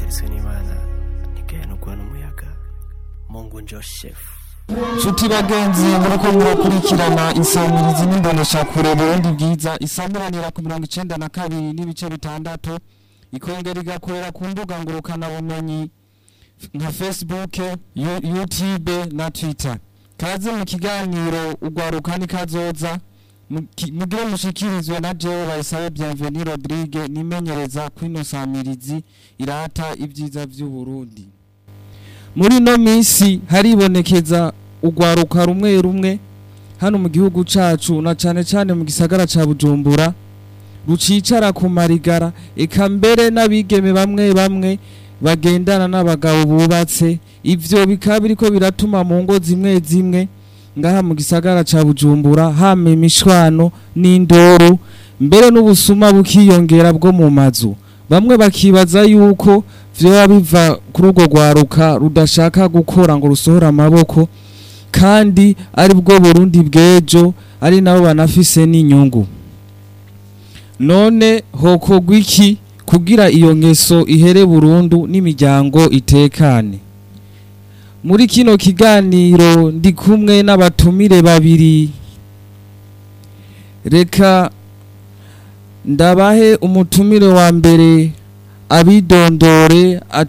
Gateretswe n'Imana ntigahenurwa n'umuyaga. Mungu njo chef. Nshuti bagenzi, muriko murakurikirana insamirizi n'imboneshakure Burundi Bwiza, isamiranira ku 92.6, ikongera igakorera ku mbuga ngurukanabumenyi nka Facebook, YouTube na Twitter. Kaze mu kiganiro Ugwaruka ni Kazoza, mugire mushikirizwe na jewe Bayisabe Bienvenue Rodrigue, nimenyereza kw'ino samirizi irata ibyiza vy'Uburundi. Muri ino minsi haribonekeza ugwaruka rumwe rumwe hano mu gihugu cacu, na cane cane mu gisagara ca Bujumbura, rucicara ku marigara, eka mbere n'abigeme bamwe bamwe bagendana n'abagabo bubatse. Ivyo bikaba biriko biratuma mu ngo zimwe zimwe ngaha mu gisagara ca Bujumbura hama imishwano n'indoro, mbere n'ubusuma bukiyongera bwo mu mazu. Bamwe bakibaza yuko vyoba biva kuri urwo rwaruka rudashaka gukora ngo rusohore amaboko, kandi ari bwo Burundi bw'ejo, ari nabo banafise n'inyungu. None hokorwa iki kugira iyo ngeso ihere burundu n'imiryango itekane? Muri kino kiganiro ndi kumwe n'abatumire babiri. Reka ndabahe umutumire wa mbere abidondore.